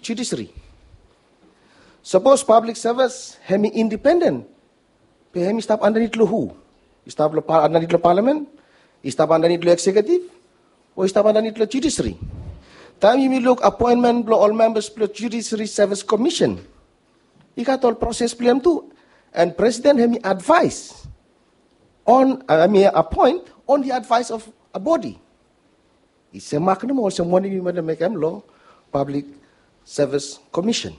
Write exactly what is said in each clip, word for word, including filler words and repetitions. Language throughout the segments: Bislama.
judiciary. Sapos public service hemi independent, be hemi stap andanit long hu? I stap long pa- andanit long parliament? I stap andanit long executive? O i stap andanit long judiciary? Taem yumi luk appointment blong ol members blong Judiciary Service Commission, i gat ol proses blong hem tu. And president hemi advise on, I mean, appoint on the advice of a body. I semak nomo olsem wanem yumi wantem mekem long Public Service Commission.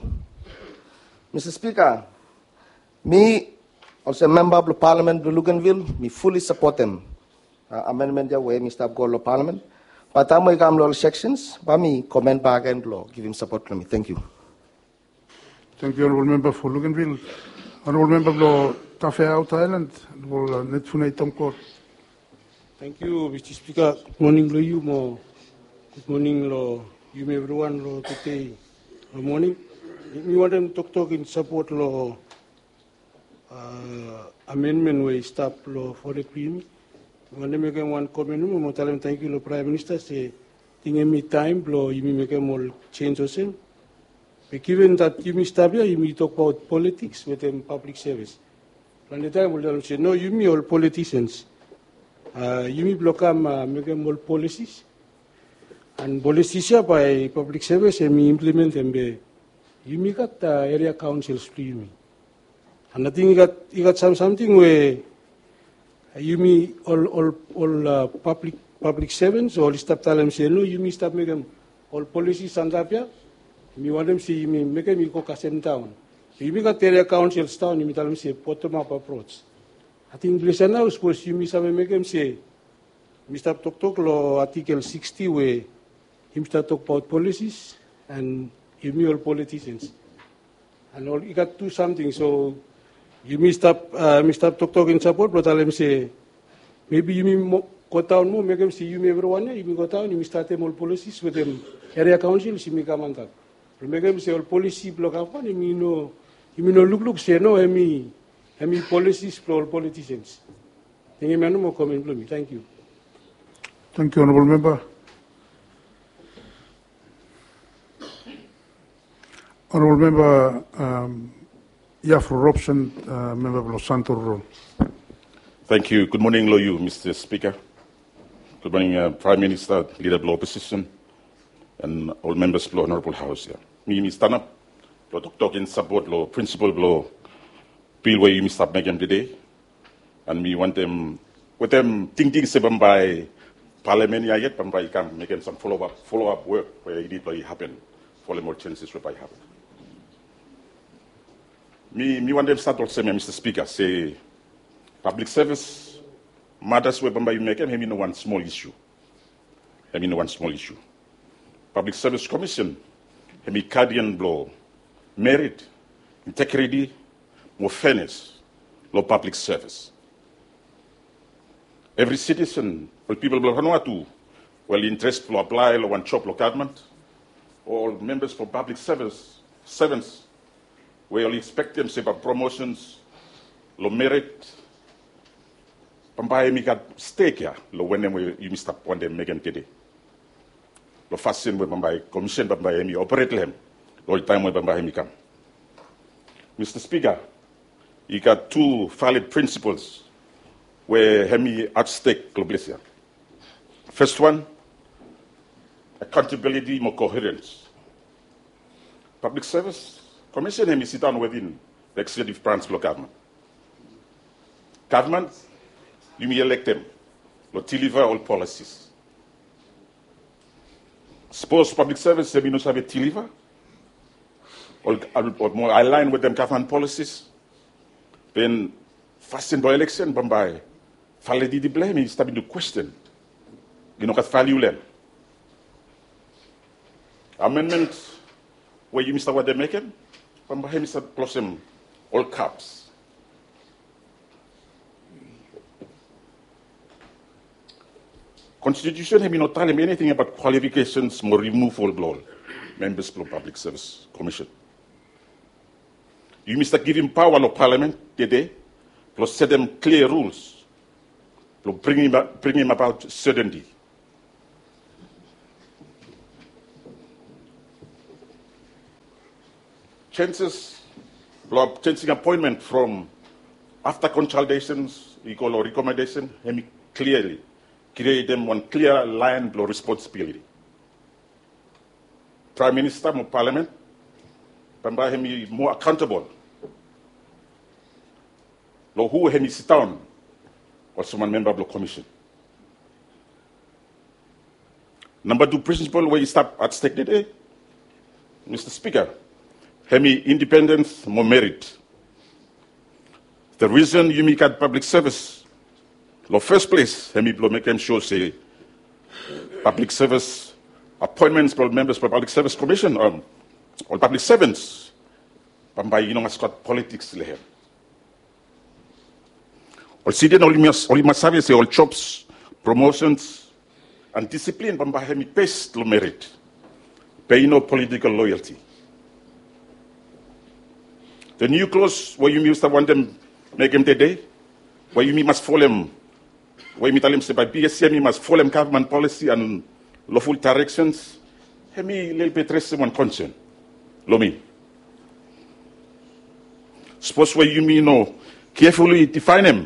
Mista Spika, mi olsem memba blong parliament blong Luganville, mi fully sapotem amendment ya we mi stap go long parliament. Bat taem we i kam long ol sections, bae mi komen bak gen blong givim sapot blong mi. Tangkiu. Tangkiu, Honorable Member for Luganville. Honorable Member blong Tafea Outer Island, Honorable Netfunei Tomkol. Tangkiu, Mista Spika. Gudmoning long yu mo gudmoning long yumi evriwan long tede long moning. Mi wantem toktok in sapot long amendment we i stap long fored blong yumi. Mi wantem mekem wan komen nomo mo talem tangkiu long Praem Minista se ting hemi taem blong yumi mekem ol jenis olsem. Be given that yumi stap ya, yumi tokbaot politiks wetem pablik sevis. Plante taem oli talem se no, yumi ol politisians, yumi blong kam mekem ol polisis. And polisis ya bae pablik sevis hemi implementem be yumi gat eria kaonsils blong yumi. And ating i gat, i gat sam samting we yumi ol, ol, ol pablik, pablik sevens oli stap talem se no, yumi stap mekem ol polisis antap ya. Mi wantem se yumi mekem i go kasem daon. Yumi gat eria kaonsils daon, yumi talem se bottom up approach. Ating ples ya nao sapos yumi save mekem se mi stap toktok long Artikel sixty we yumi stap tokbaot polisis and yumi ol politisians. And ol i gat tu samting, so yumi stap, mi stap toktok in sapot blong talem se mebi yumi go daon moa, mekem se yumi evriwan ya yumi go daon, yumi statem ol polisis wetem eria kaonsils, yumi kam antap. Blong mekem se ol polisi blong gavman yumi no, yumi no lukluk se no, hemi, hemi polisis blong ol politisians. Ting hemia nomo komen blong mi. Tangkiu. Tangkiu, Honorable Member. Honorable Member Iafro Robson, memba blong Santo Rurol. Tangkiu. Gudmoning long yu, Mista Spika. Gudmoning Praem Minista, lida blong oposisen, and ol membas blong Honorable Haos ya. Mi, mi stanap blong toktok in sapot long prinsipol blong bil we yumi stap mekem tede. And mi wantem wetem tingting se bambae palamen ya yet bambae i kam mekem sam follow up, follow up wok we i nid blong i hapen folem ol jensis we bae i hapen. Mi, mi wantem stat olsem ya, Mista Spika, se pablik sevis matas we bambae yumi mekem, hemi no wan smol isu. Hemi no wan smol isu. Pablik Sevis Komisen hemi gadian blong merit, integriti mo feanes long pablik sevis. Evri sitisen, ol pipol blong Vanuatu we oli interes blong aplae long wan job long gavman, o ol membas blong pablik sevis, sevens we oli ekspektem se bae promosens long merit bambae hemi gat stek ya long wanem we yumi stap wantem mekem tede. Long fasin we bambae komisen bambae hemi operet long hem long ol taem we bambae hemi kam. Mista Spika, i gat tu valid prinsipols we hemi at stek long ples ya. Fes wan, akaontabiliti mo koherens. Pablik Sevis Komisen hemi sidaon wetem ekseketif brans blong gavman. Gavman yumi elektem blong diliva ol polisis. Sapos pablik sevis hemi no save diliva o mo alaen wetem gavman polisis, then fasin blong eleksen bambae validiti blong hem i stap intu kwesten. I no gat valiu long hem. Amenmen we yumi stap wantem mekem bambae hemi stap klosem ol gaps. Konstitusen hemi no talem eniting abaot kwalifikesens mo rimuval blong ol membas blong Pablik Sevis Komisen. Yumi stap givim paoa long palamen tede blong setem klia ruls blong bringim abaot setenti. Sensus blong changing appointment from after consultations i go long recommendation, hemi clearly createm wan clear line blong responsibility. Prime Minister mo Parliament bambae hemi more accountable long hu hemi sidaon olsem wan member blong commission. Namba tu principle we i stap at stake tede, Mr. Speaker, hemi independence mo merit. The reason yumi gat public service long first place hemi blong mekem sure se public service appointments blong members blong public service commission, um, ol public servants bambae i no mas gat politics long hem. Ol citizen oli mas, oli mas save se ol jobs, promotions and discipline bambae hemi based long merit. Be i no political loyalty. The new clause we yumi stap wantem mekem tede, we yumi mas folem, we yumi talem se bae PSC hemi mas folem government policy and lawful directions, hemi lelebet resem wan concern long mi. Sapos we yumi no carefully defineem,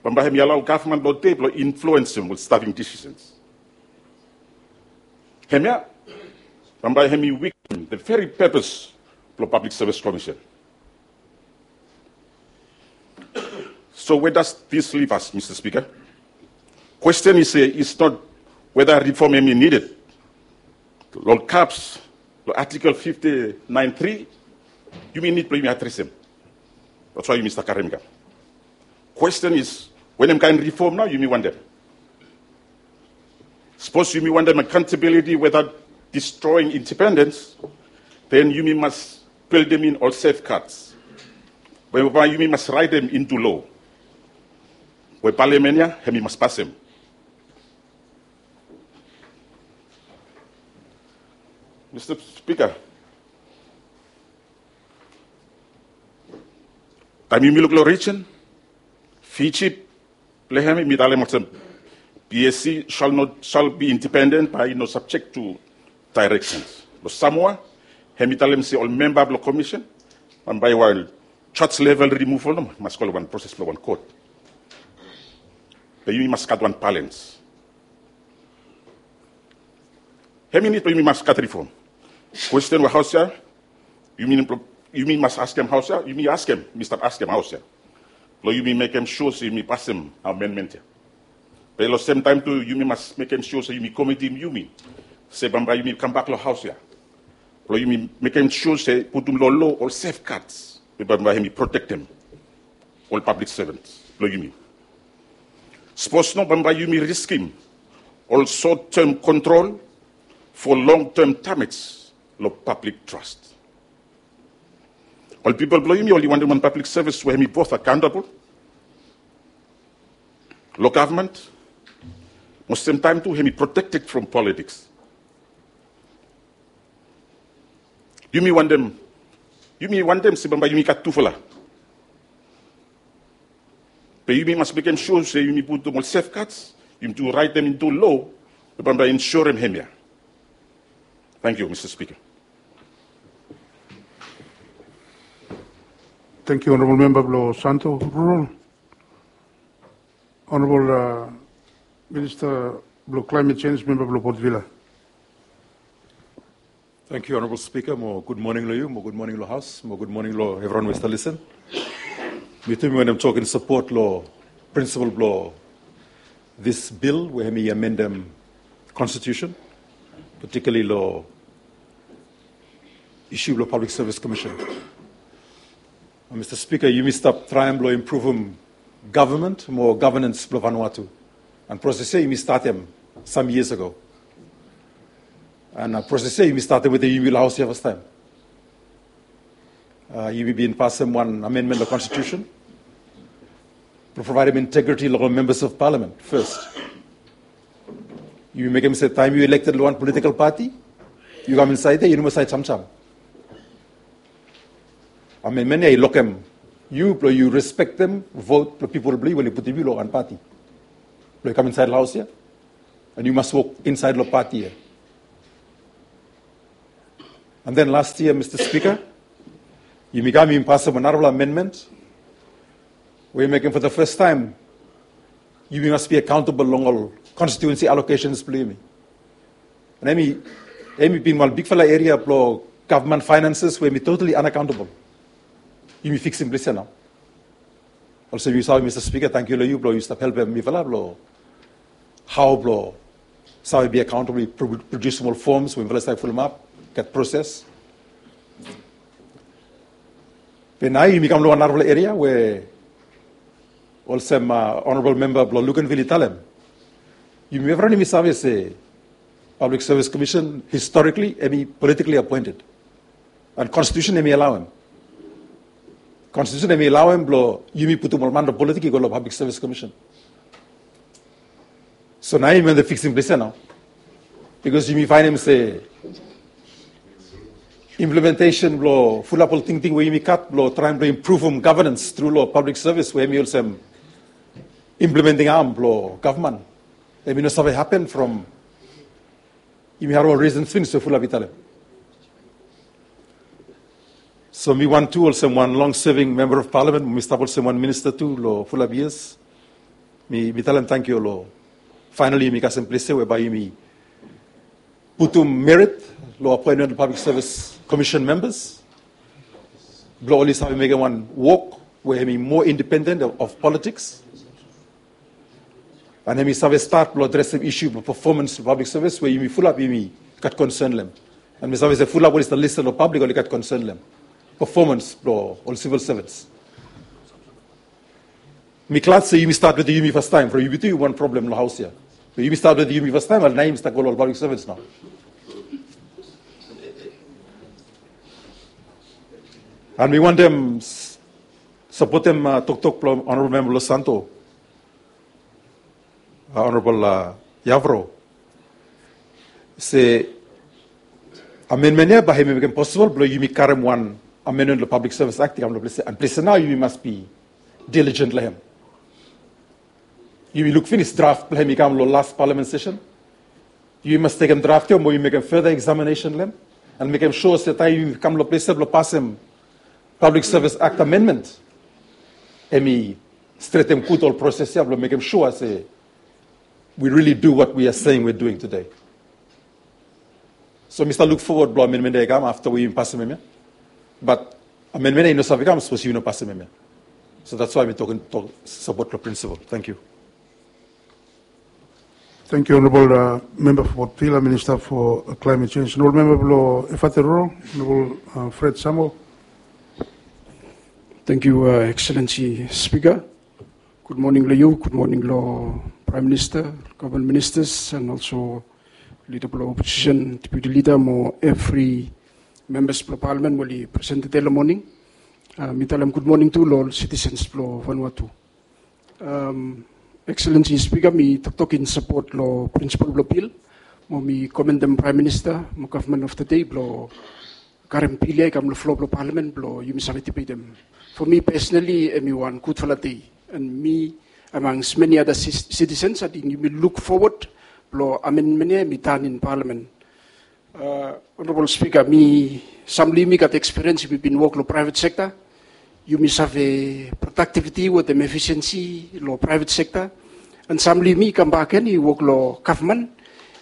bambae hemi allow government blong tede blong influensem ol staffing decisions. Hemia bambae hemi weaken the very purpose blong Public Service Commission. So where does this leave us, Mr. Speaker? Question is, uh, is not whether reform hemi needed. Long CAPS, long Article fifty-nine three, yumi nid blong yumi adresem. That's why yumi stap karem i kam. Question is, wanem kaen reform nao yumi wantem? Sapos yumi wantem accountability without destroying independence, then yumi mas buildem in ol safeguards we bae yumi mas raetem into law we Parliament ia hemi mas pasem. Mr. Speaker, taem yumi luk long region, Fiji, blong hem hemi talem olsem, PSC shall not, shall be independent, bae i no subject to directions. Long Samoa, hemi talem se ol memba blong commission, bae wan charge level removal nomo, mas go long wan proses blong wan court. Be yumi mas gat wan balance. Hemi nid blong yumi mas gat reform. Question we Haos ia, yumi, yumi mas askem Haos ia, yumi askem, mi stap askem Haos ia blong yumi mekem sure se yumi pasem amendment ia. Be long sem taem tu yumi mas mekem sure se yumi komitim yumi se bambae yumi kambak long Haos ia blong yumi mekem sure se putum long loa ol safeguards we bambae hemi protektem ol public servants blong yumi. Sapos no, bambae yumi riskem ol short term control for long term damage long public trust. Ol pipol blong yumi oli wantem wan public service we hemi both accountable long government, mo sem taem tu hemi protected from politics. Yumi wantem, yumi wantem se bambae yumi gat tufala. Be yumi mas mekem sure se yumi putum ol safeguards, yumi tu raetem into law, be bambae ensurem hemia. Thank you, Mr. Speaker. Thank you, Honorable Member blong Santo Rural. Honorable, uh, Minister blong Climate Change, memba blong Port Vila. Thank you, Honorable Speaker, mo gud moning long yu, mo gud moning long Haos, mo gud moning long evriwan we i stap lisen. Mi tu mi wantem tok in sapot long principle blong this bill we hemi amendem constitution, particularly long issue blong Public Service Commission. Mr. Speaker, yumi stap traem blong impruvum government mo governance blong Vanuatu. And proses ia yumi statem some years ago. And, uh, proses ia yumi statem wetem yumi long Haos ia fastaem. Uh, yumi bin pasem wan amendment long constitution blong provaedem integrity long ol members of parliament first. Yumi mekem se taem yu elected long wan political party, yu kam insaed ia, yu no mas saed samsam. Amendment ia i lokem yu blong yu respektem vote blong pipol blong yu we oli putum yu long wan party blong yu kam insaed long Haos ia. And yu mas wok insaed long party ia. And then last year, Mr. Speaker, Yumi kam yumi pasem wan narafala amendment we i mekem for the first time yumi mas be accountable long ol constituency allocations blong yumi. And em i em i bin wan bigfala area blong government finances we em i totally unaccountable. Yumi fiksim ples ya nao. Olsem yu save, Mr Speaker, tangkiu long yu blong yu stap helpem mifala blong hao blong save be accountable, produsim ol forms we mifala save fulumap, gat proses. Be nao yumi kam long wan narafala eria we olsem Honorable Member blong Luganville i talem, yumi evriwan yumi save se Public Service Commission historically em i politically appointed. And constitution em i alaoem. Constitution em i alaoem blong yumi putum ol man blong politik i go long Public Service Commission. So nao yumi wantem fiksim ples ya nao. Bikos yumi faenem se implementation blong fulap ol tingting we yumi gat blong traem blong impruvum governance tru long public service we em i olsem implementing arm blong gavman, em i no save hapen from yumi harem ol reasons finis we fulap i talem. So mi wan tu olsem wan long serving member of parliament, mi stap olsem wan minista tu long fulap years. Mi mi talem tangkiu long finally yumi kasem ples ya we bae yumi putum merit long appointment of Public Service Commission members blong oli save mekem wan wok we em i moa independent of, of politics. And em i save stat blong adresem isu blong performance blong public service we yumi fulap yumi gat concern long em. And mi save se fulap oli stap listen long public oli gat concern long em. Performance blong ol civil servants. Mi glad se yumi stat wetem yumi fastaem from yumi tu yumi wan problem long haos ya. Be yumi stat wetem yumi fastaem, and nao yumi stap go long ol public servants nao. And mi wantem sapotem toktok blong Honorable Member Losanto, Honorable Yavro, se amendment ya bae hem i mekem posibol blong yumi karem wan amendment long Public Service Act i kam long ples ya, and ples ya nao yumi mas be diligent long hem. Yumi luk finis draft blong hem i kam long last parliament session. Yumi mas tekem draft ya mo yumi mekem further examination long hem and mekem sua se taem yumi kam long ples ya blong pasem Public Service Act amendment, hem i stretem gud ol proses ya blong mekem sua se we really do what we are saying we are doing today. So mi stap luk fowod blong amendment ya i kam afta we yumi pasem hem ya. Bat amendment ya i no save kam sapos yumi no pasem hem ya. So that's why mi tokim tok sapot long principle. Thank you. Thank you, Honorable Member for Port Vila, Minister for Climate Change. Honorable Member blong Efate Rurong, Honorable Fred Samuel. Thank you, Excellency Speaker. Gud moning long yu, gud moning long Prime Minister, government ministers, and also leader blong opposition, deputy leader, mo evri members blong parliament we oli present tede long moning. Mi talem gud moning tu long ol citizens blong Vanuatu. Excellency Speaker, mi toktok in sapot long principle blong bill, mo mi commendem Prime Minister mo government of the day blong karem bill ya i kam long floor blong parliament blong yumi save debatem. For mi personally, hem i wan gudfala dei, and mi among many other citizens, ating yumi luk fowod blong amendment ya hem i tan in parliament. Honorable Speaker, mi, sam long yumi gat experience, yumi bin wok long private sector. Yumi save productivity wetem efficiency long private sector. And sam long yumi i kambak gen i wok long gavman.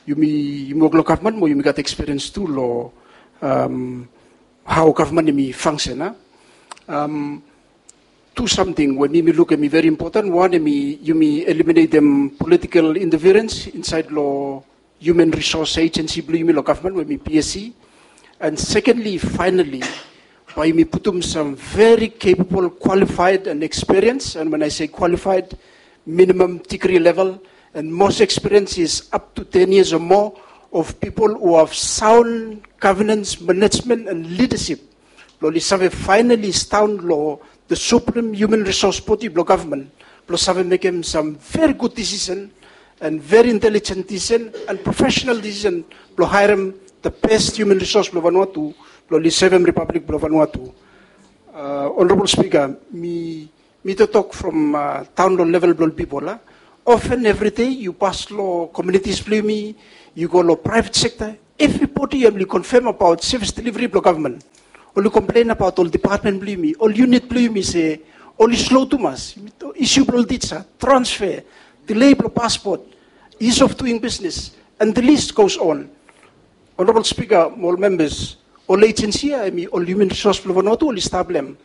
Yumi, yumi wok long gavman mo yumi gat experience tu long hao gavman hem i function, a. Tu samting we mi mi luk hem i very important. Wan hem i yumi eliminatem political interference insaed long human resource agency blong yumi long gavman we hem i P S C. And secondly, finally, bae yumi putum sam very capable, qualified and experience, and when I say qualified, minimum degree level, and most experience is up to ten years or more, of people who have sound governance, management and leadership blong oli save finally stand long the supreme human resource body blong gavman blong save mekem sam very good decision and very intelligent decision and professional decision blong haerem the best human resource blong Vanuatu blong oli sevem Republic blong Vanuatu. Honorable Speaker, mi mi toktok from taon long level blong ol pipol, a. Often every day yu pas long communities blong yumi, yu go long private sector, everybody hem oli confirm about service delivery blong gavman. Oli komplen abaot ol depatmen blong yumi, ol yunit blong yumi se oli slo tumas. Isu blong ol tisa, transfer, delay blong paspot, ease of doing business, and the list goes on. Honorable Speaker, ol membas, ol ejensi ya hemi ol human resource blong Vanuatu oli stap long hem.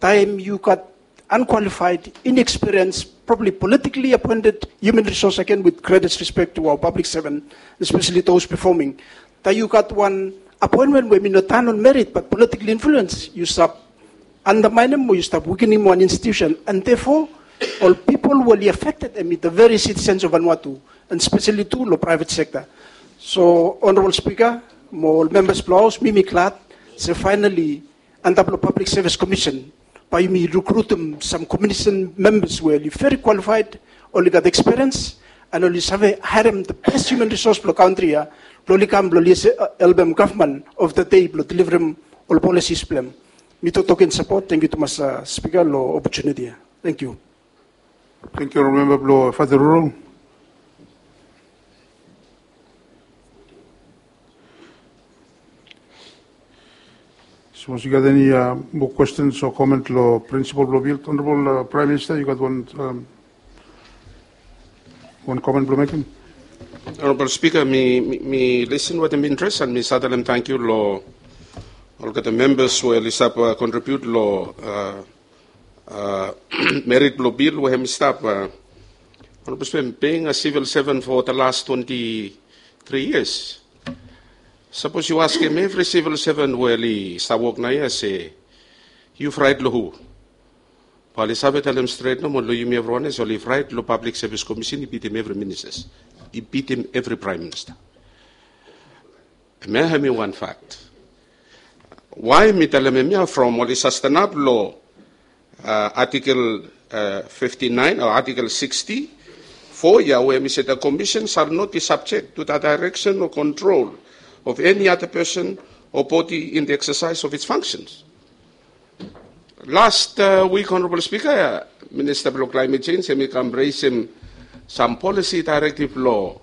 Taem yu gat unqualified, inexperienced, probably politically appointed human resource, again with greatest respect to our public servant, especially those performing. Taem yu gat wan appointment we hemi no tan on merit but political influence, yu stap undermine hem o yu stap weakening wan institution, and therefore ol pipol we oli affected hemi the very citizens of Vanuatu, and especially tu long private sector. So Honorable Speaker, mo ol membas blong Haos, mi mi glad se finally antap long Public Service Commission bae yumi rekrutim sam commission membas we oli very qualified, oli gat experience, and oli save haerem the best human resource blong kantri ya blong oli kam blong oli helpem gavman of the day blong deliverem ol policies blong hem. Mi toktok in sapot. Tangkiu tumas, Speaker, long opportunity ya. Tangkiu. Tangkiu, memba blong Fadarurung. Sapos yu gat eni moa kwestens o komen long prinsipol blong bil, Honorable Praem Minista, yu gat wan, wan komen blong mekem? Honorable Speaker, mi, mi, mi lisin wetem interes and mi save talem tangkiu long olgeta membas we oli stap kontribiut long merit blong bil we hemi stap. Honorable Speaker, being a civil servant for the last twenty-three years, sapos yu askem evri civil servant we oli stap wok naoia se yu fraet long hu, bae oli save talem stret nomo long yumi evriwan ya se oli fraet long Public Service Commission i bitim evri ministas, i bitim evri Praem Minista. Hemia hemi wan fakt. Wae mi talem hemia? From oli sastenap long Article fifty-nine o Article sixty-four ya we hemi se the commission shall not be subject to the direction or control of any other person or body in the exercise of its functions. Last wik, Honorable Speaker, Minista blong Climate Change hemi kam resem sam policy directive long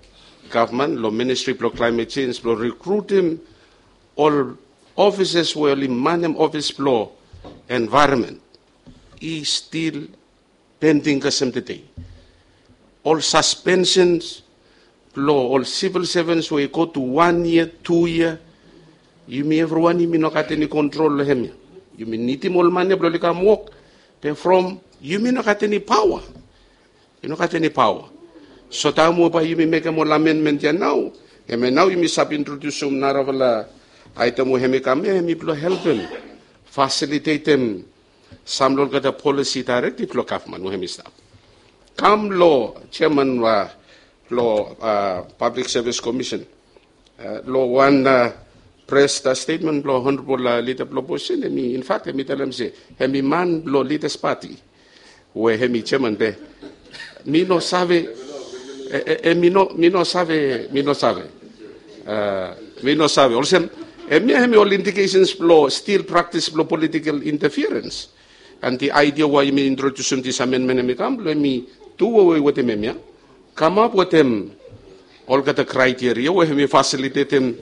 gavman, long Ministry blong Climate Change blong rekrutim ol ofisas we oli manem ofis blong envaeronmen. I stil pending kasem tede. Ol saspensens blong ol sivil sevens we i go tu wan yia, tu yia, yumi evriwan yumi no gat eni kontrol long hemia. Yumi nidim ol man ya blong oli kam wok, be from yumi no gat eni paoa. Yu no gat eni paoa. So taem we bae yumi mekem ol amenmen ya nao, hemia nao yumi save introdiusim narafala aetem we hemi kam ya, hemi blong helpem fasilitetem sam long olgeta policy directive blong gavman we hemi stap. Kam long jeaman blong Public Service Commission, long wan pres statemen blong Honorable Leader blong Opposition, hemi, in fact, hemi talem se hemi man blong Leaders Party we hemi jeaman, be mi no save, e, e, e, mi no, mi no save, mi no save. Mi no save. Olsem, hemia hemi ol indikesens blong stil praktis blong political interference. And the idea wae yumi introdiusim this amendment hemi kam blong hemi tu wewe wetem hemia, kamap wetem olgeta kraeteria we hemi fasilitetem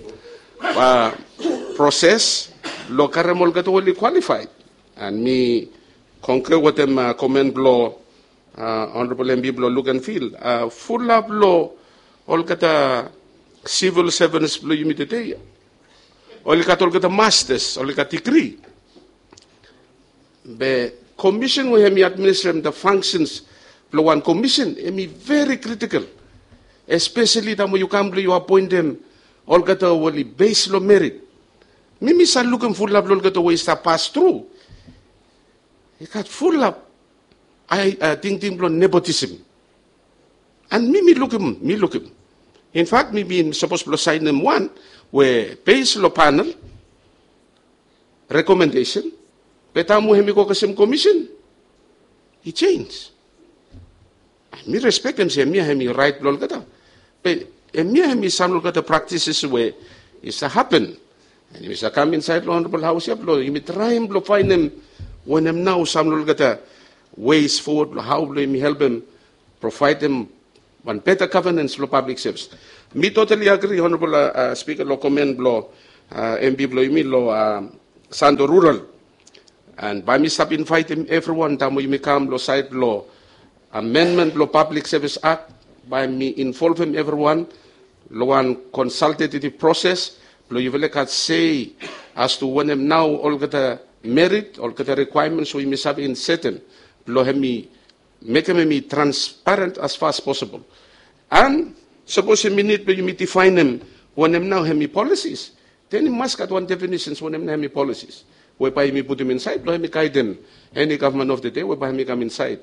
proses blong karem olgeta we oli kwalifaed. And mi kongre wetem komen blong Honorable M P blong Luganville. Fulap long olgeta sivil sevens blong yumi tede oli gat olgeta mastas, oli gat digri. Be komisen we hemi administrem the functions blong wan komisen hemi veri kritikol, espeseli taem we yu kam blong yu apoentem olgeta we oli bes long merit. Mi mi save lukim fulap long olgeta we i stap pas tru, i gat fulap tingting blong nepotism. And mi mi lukim, mi lukim. In fact, mi bin sapos blong saenem wan we bes long panel rekomendesen, be taem we hemi go kasem komisen, i jenis. Mi respektem se hemia hemi raet blong olgeta. Be hemia hemi sam long olgeta praktises we i save hapen. And yumi save kam insaed long Honorable Haos ya blong yumi traem blong faenem wanem nao sam long olgeta ways fowod blong hao blong yumi helpem provaedem wan beta gavanens blong pablik sevis. Mi totali agri, Honorable Spika, long komen blong M P blong yumi long Santo Rural. And bae mi stap invaitim evriwan taem we yumi kam lo saed lo amendment lo Public Service Act, bae mi involvem evriwan lo wan consultative process blo yufala i gat sei as to wanem nao olgeta merit, olgeta requirements we yumi save insetem blo hemi mekem hemi transparent as far as possible. And sapos hemi nid blo yumi difaenem wanem nao hemi policies, then i mas gat wan definitions wanem nao hemi policies we bae yumi putum insaed blo hemi gaedem eni gavman of the day we bae hemi kam insaed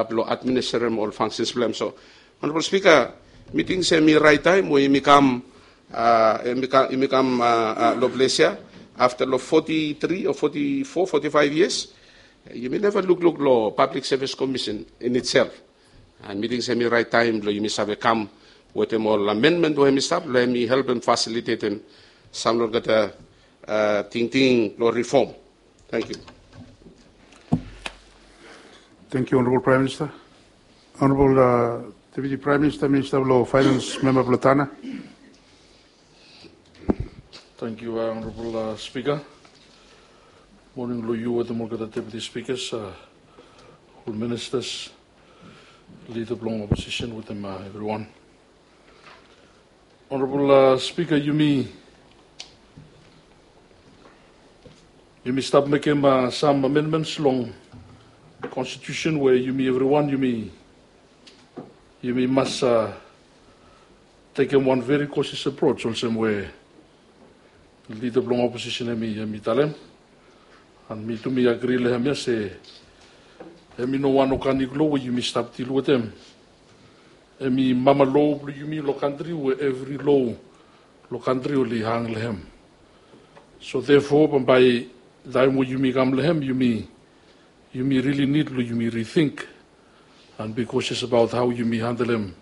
blo administerem ol functions blo hem. So, Honorable Speaker, mi ting se hemi raet taem we yumi kam, yumi kam lo ples ia afta lo forty-three o forty-four, forty-five years, yumi neva lukluk lo Public Service Commission in itself. And mi ting se hemi raet taem blo yumi save kam wetem ol amendment we hemi stap blo hemi helpem fasilitetem sam lo olgeta tingting blo reform. Thank you. Thank you, Honorable Prime Minister. Honorable Deputy Prime Minister, Minister blo Finance, memba blo Tanna. Thank you, Honorable Speaker. Moning lo yu wetem olgeta Deputy Speakers, ol ministers, leader blong opposition wetem evriwan. Honorable Speaker, yumi yumi stap mekem sam amendments long constitution we yumi evriwan yumi yumi mas tekem wan very cautious approach olsem we lida blong opposition hemi hemi talem. And mi tu mi agri long hem ia se hemi no wan organic lo we yumi stap dil wetem. Hemi mama lo blong yumi long kantri we evri lo long kantri oli hang long hem. So therefore bambae taem we yumi kam long hem yumi yumi rili nid blong yumi rithink and be cautious abaot hao yumi handelem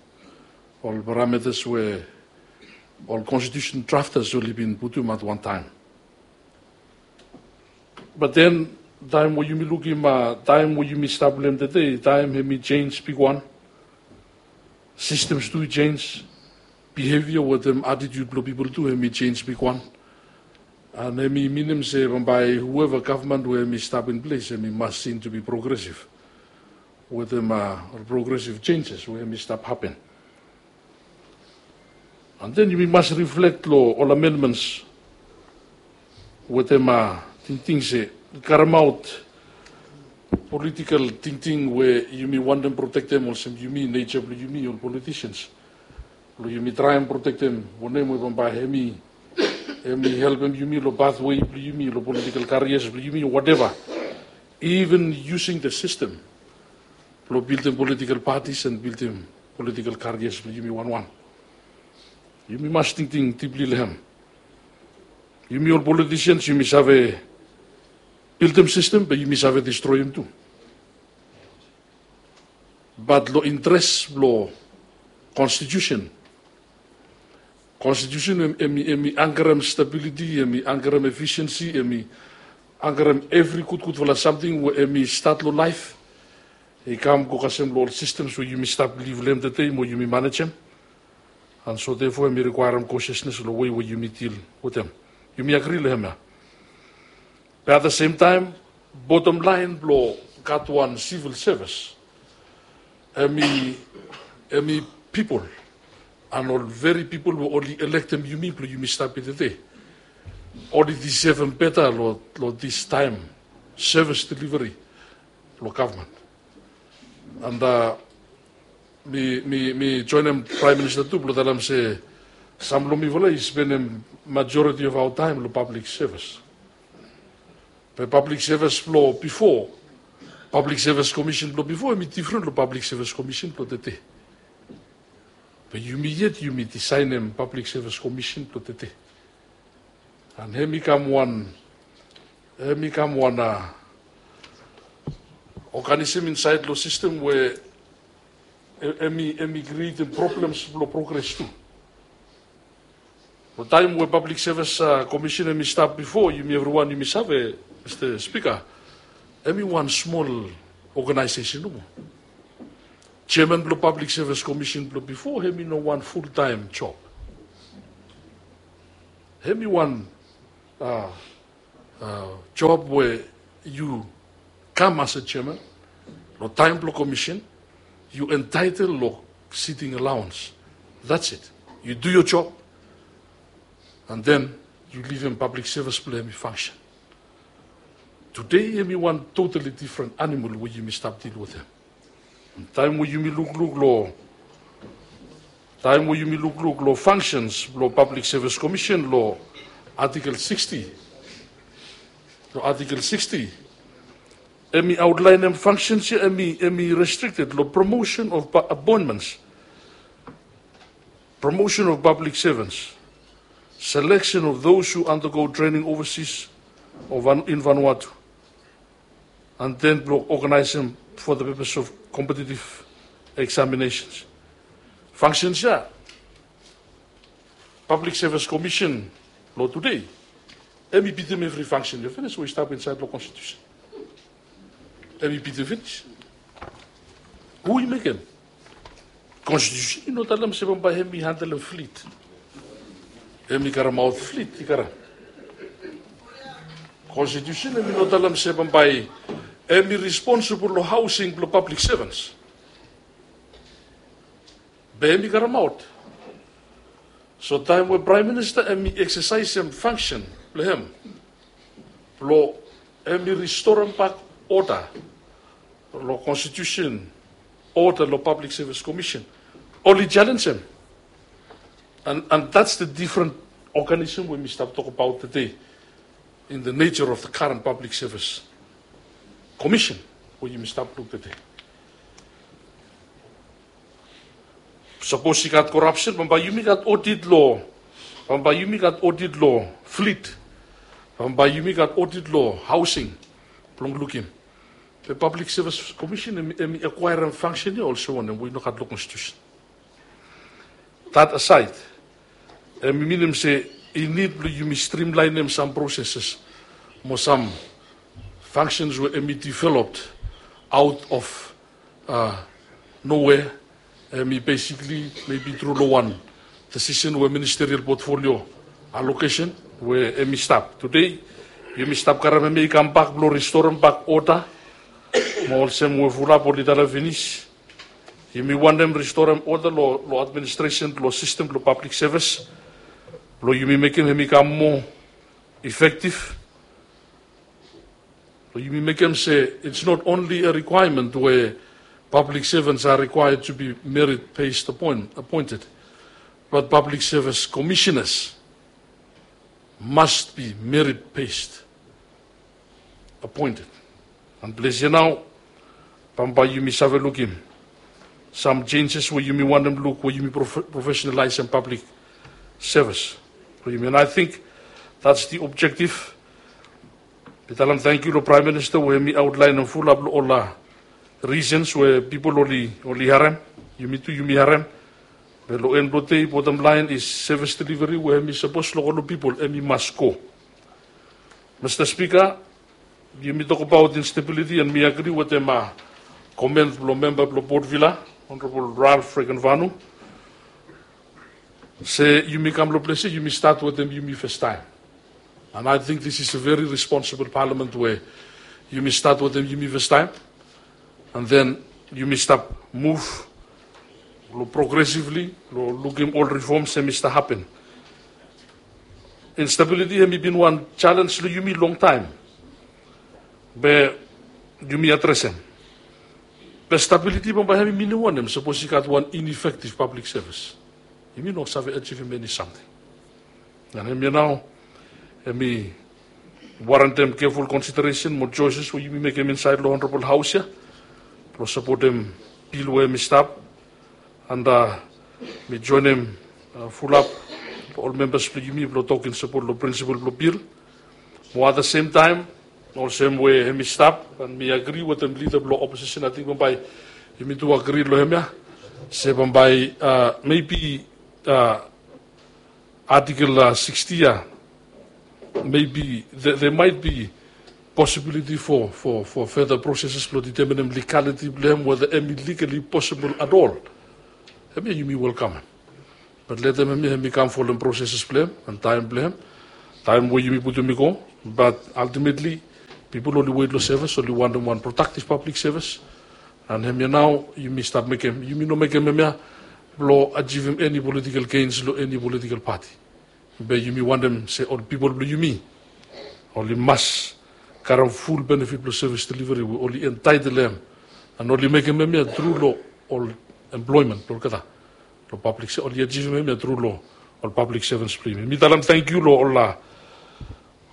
ol parameters we ol constitution drafters oli bin putum at wan taem. But then taem we yumi lukim taem we yumi stap long hem tede taem hemi jenis bigwan. Systems tu i jenis, behavior wetem attitude blong pipol tu hemi jenis bigwan. And hemi minim se bambae whoever gavman we hemi stap in ples hemi mas sin tu bi progresiv wetem ol progresiv jenjes we hemi stap hapen. And then yumi mas riflek long ol amendments wetem tingting se karemaot politikal tingting we yumi wantem protektem olsem yumi neja blong yumi ol politisians blong yumi traem protektem wanem we bambae hemi hemi helpem yumi long pathway blong yumi long politikal karias blong yumi o wateva. Even using the system blong bildim politikal patis and bildim politikal karias blong yumi wanwan. Yumi mas tingting dipli long hem. Yumi ol politisians yumi save bildim sistem be yumi save distroem tu. Bat long interes blong konstitusen, konstitusen em i ankarem stabiliti, em i ankarem efisiensi, em i ankarem evri gudgudfala samting we em i stat long laef. I kam go kasem long ol sistems we yumi stap liv long hem tede mo yumi manejem. And so therefore em i rikwaerem kosiasnes long wei we yumi dil wetem. Yumi agri long hem ya. Be at the same time, bottom laen blong gat wan sivil sevis, em i pipol. And ol veri pipol we oli elektem yumi blong yumi stap ya tede, oli disevem beta long distaem sevis deliveri blong gavman. And mi joenem praem minista tu blong talem se sam long mifala i spenem majoriti of aoa taem long pablik sevis. Be pablik sevis blong bifo, pablik sevis komisen blong bifo em i difren long pablik sevis komisen blong tede. Be yumi yet yumi disaenem pablik sevis komisen blong tede. And hem i kam wan, hem i kam wan a oganisem insaed long sistem we em i krietem problems blong progres tu. Long taem we pablik sevis komisen em i stap bifo, yumi evriwan yumi save, Mista Spika, em i wan smol ogenaesesen nomo. Jeaman blong pablik sevis komisen blong bifo em i no wan fultaem job. Em i wan job we yu kam as a chairman, long taem blong commission, yu entitle long sitting allowance. That's it. Yu do your job, and then yu livim public service blong hem i function. Today hem i wan totally different animal we yumi stap deal wetem. Taem we yumi lukluk long taem we yumi lukluk long functions blong Public Service Commission long Article sixty, long Article sixty, hem i outline hem functions ia, hem i restricted long promotion of appointments, promotion of public servants, selection of those who undergo training overseas or in Vanuatu, and then blong organizem for the purpose of competitive examinations. Functions ia, Public Service Commission long today, hem i bitim evri function ia finis we i stap insaed long constitution. Hem i bitim finis. Hu i mekem? Constitution i no talem se bambae hem i handelem flit. Hem i karemaot flit i karem. Constitution hem i no talem se bambae hem i responsibol long housing blong public servants. Be hem i karemaot. So taem we Praem Minista hem i eksesaesem fangsen blong hem blong hem i ristorem bak oda long constitution, oda long Public Service Commission, oli jalenjem. And that's the different organism we mi stap tokbaot tede in the nature of the current Public Service Commission we yumi stap luk tede. Sapos i gat korapsen, bambae yumi gat odit long, bambae yumi gat odit long flit, bambae yumi gat odit long haosing blong lukim. Be Public Service Commission hem i akwaerem fangsen ia olsem wanem we i no gat long constitution. That aside, hem i minim se i nid blong yumi strimlaenem sam proseses mo sam functions we hem i developed out of nowhere. Hem i basically maybe tru long wan decision we ministerial portfolio allocation we hem i stap. Today yumi stap karem hem ia i kambak blong ristorem bak oda. Mo olsem we fulap oli talem finis, yumi wantem ristorem oda long administration blong sistem blong public service blong yumi mekem hem i kam moa effective. Blong yumi mekem se it's not only a requirement where public servants are required to be merit based appointed, but public service commissioners must be merit based appointed. And ples ia nao bambae yumi save lukim sam changes we yumi wantem luk we yumi professionalisem public service blong yumi. And I think that's the objective. Mi talem tangkiu long Praem Minista we hem i outlaenem fulap long ol reasons we pipol oli harem, yumi tu yumi harem. Be long en blong dei, bottom line is service delivery we hem i sapos long ol pipol hem i mas go. Mista Spika, yumi tokbaot instability and mi agri wetem koment blong memba blong Port Vila, Honorable Ralph Fregenvanu, se yumi kam long ples ia yumi stat wetem yumi fastaem. And I think this is a very responsible parliament we yumi stat wetem yumi fastaem. And then yumi stap muv long progressively long lukim ol reforms hem i stap hapen. Instability hem i bin wan jalenj long yumi longtaem. Be yumi adresem. Be stability bambae hem i minim wanem sapos i gat wan ineffective public service? Yumi no save ajivim eni samting. And hemia nao hem i warentem careful consideration mo choices we yumi mekem insaed long Honorable Haos ia blong sapotem bil we hem i stap. And mi joenem fulap ol membas blong yumi blong tok in sapot long prinsipol blong bil. Mo at the same time, olsem we hem i stap, and mi agri wetem lida blong opposition, ating bambae yumi tu agri long hemia se bambae maybe Article sixty ia, maybe there might be possibility for further processes blong determinem legality blong hem, whether hem i legally possible at all. Hemia yumi welkamem. Bat letem hemia hem i kam folem processes blong hem and taem blong hem. taem we yumi putum i go. Bat ultimately pipol oli wet long sevis, oli wantem wan productive public service. And hemia nao yumi stap mekem, yumi no mekem hemia blong ajivim eni political gains long eni political party. Be yumi wantem se ol pipol blong yumi oli mas karem ful benefit blong sevis delivery we oli entitled long hem. And oli mekem hemia tru long ol employment blong olgeta long public se oli ajivim hemia tru long ol public servants blong yumi. Mi talem tangkiu long ol,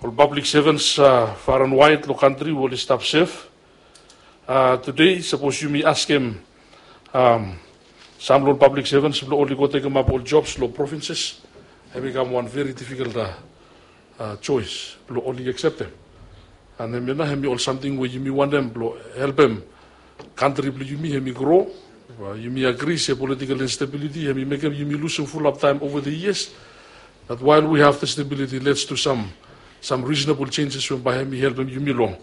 ol public servants far and wide long kantri we oli stap sef. Tude sapos yumi askem sam long ol public servants blong oli go tekemap ol jobs long provinces, hem i kam wan very difficult choice blong oli akseptem. And hemia nao hem i ol samting we yumi wantem blong helpem kantri blong yumi hem i gro. Yumi agri se political instability hem i mekem yumi lusum fulap taem over the years. But while we have the stability, let's do some, some reasonable changes we bae hem i helpem yumi long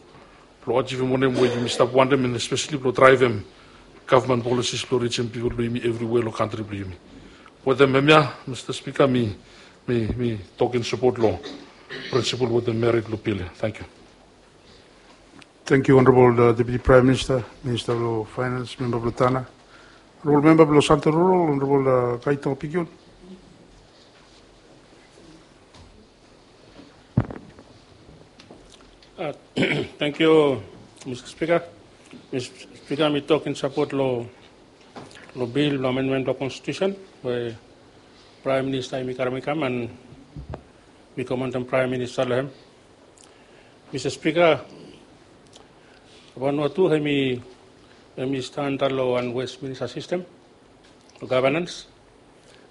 blong ajivim wanem we yumi stap wantem, and especially blong draevem gavman policies blong rijim pipol blong yumi evriwea long kantri blong yumi. Wetem hemia, Mista Spika, mi, mi, mi tok in sapot long prinsipol wetem merit blong bil ia. Tangkiu. Tangkiu Honorable Deputi Praem Minista, Minista blong Faenans, memba blong Tana. Honorable memba blong Santo Rural, Honorable Kaito Pikion. Tangkiu Mista Spika. Mista Spika, mi tok in sapot long bil blong amendmen blong konstitusen we Praem Minista hem i karem i kam, and mi komantem Praem Minista long hem. Mista Spika, Vanuatu hem i, hem i standa long wan Westminster sistem long gavenans.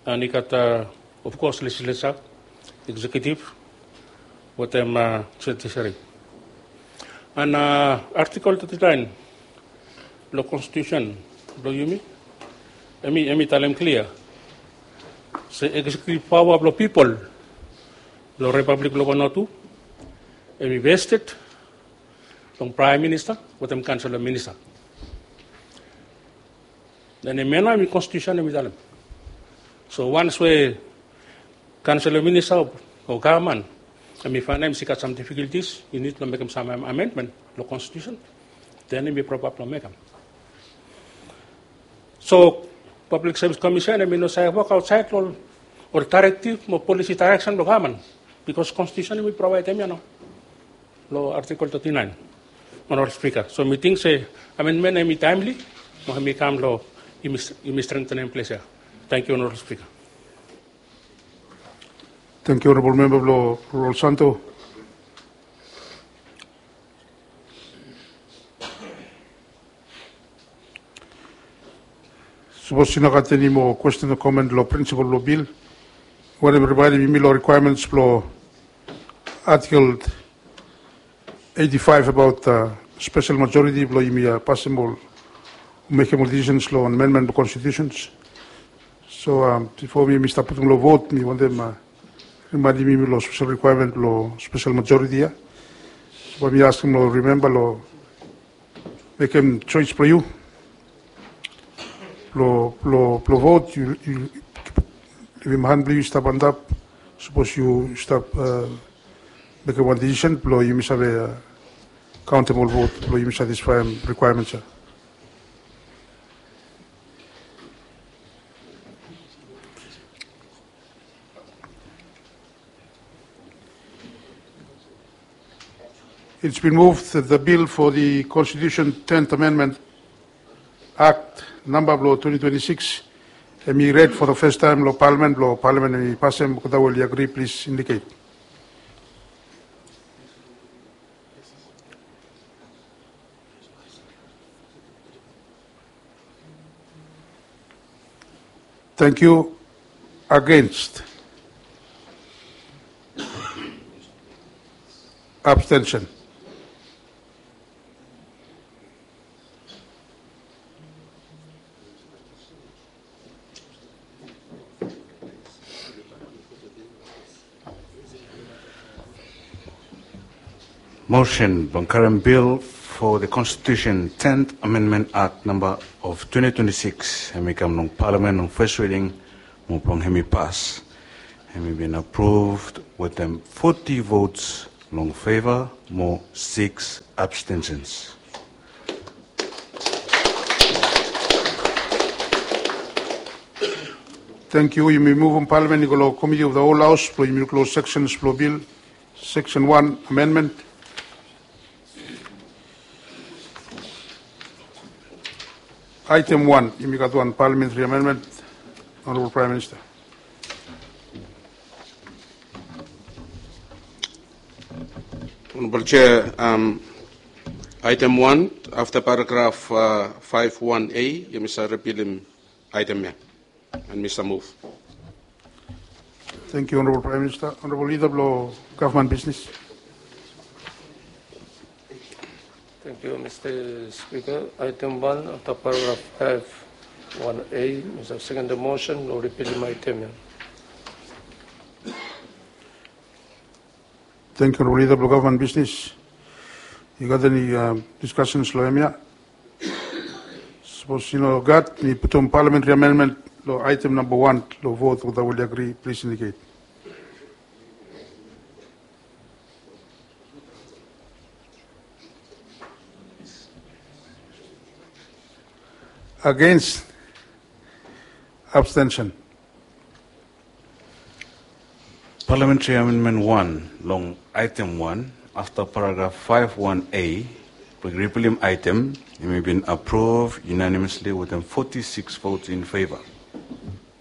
And i gat, of kos, legislature, executive, wetem judiciary. And artikel thirty nine blong konstitusen blong yumi, hem i, hem i talem klia se executive paoa blong pipol blong Ripablik blong Vanuatu hem i vested long Praem Minista wetem Kaonsel of Minista. And hemia nao hem i konstitusen hem i talem. So once we Kaonsel of Minista o gavman hem i faenem se i gat sam difikultis, i nid blong mekem sam amendmen long konstitusen, then hem i propa blong mekem. So Public Service Commission hem i no save wok aotsaed long ol daerektiv mo polisi daereksen blong gavman, bikos konstitusen hem i provaedem ia nao long Artikel thirty nine, Honorable Speaker. So mi ting se amendmen hem i taemli mo hem i kam long yumi strengtenem ples ia. Tangkiu Honorable Speaker. Tangkiu Honorable Memba blong Rural Santo. Sapos i no gat eni moa kwesten o komen long prinsipol blong bil, wantem rimaenem yumi long rikwaemens blong Artikel eighty five abaot spesel majoriti blong yumi pasem ol, mekem ol disisens long amenmen blong konstitusen. So bifo mi stap putum long vot, mi wantem rimaenem yumi long spesel rikwaemen blong spesel majoriti ia. So bae mi askem long rimemba long mekem joes blong yu blong, blong, blong vot, yu, yu levim han blong yu i stap antap sapos yu stap mekem wan disisen blong yumi save kaontem ol vot blong yumi satisfaem rikwaemens ia. It's been moved that the bill for the Constitution tenth Amendment Act namba blong twenty twenty-six hem i red for the first time long Palamen, blong Palamen hem i pasem. Olgeta we oli agri, plis indicate. Tangkiu. Against? Abstention? Mosen blong karem bil fo the Constitution tenth Amendment Act namba of twenty twenty-six hem i kam long Palamen long fes riding mo blong hem i pas. Hemi bin aproved wetem foti vots long feva mo sikis abstentions. Tangkiu. Yumi muvum Palamen i go long Komiti of the Whole Haus blong yumi luk long seksen blong bil, seksen wan, amendment. Aetem wan, yumi gat wan parliamentary amendment. Honorable Prime Minister. Honorable Chair, um, aetem wan, afta paragraf uh, faef wan A, yumi save ripilim aetem ya. And Mister Move. Tangkiu, Honorable Prime Minister. Honorable Leader blong Gavman Bisnis. Tangkiu, Mister Spika. Aetem wan, afta paragraf faef wan A, mi save sekendem mosen blong ripilim aetem ya. Tangkiu, Honorable Leader blong Gavman Bisnis. Yu gat eni diskasens long hemia? Sapos i no gat, mi putum parliamentary amendment long aetem namba wan long vot. Without we agri, plis indicate. Against? Abstention. Parliamentary Amendment wan long aetem wan, afta paragraf faef wan A, blong ripilim aetem, hemi bin apruv unanimously wetem foti sikis vots in feva.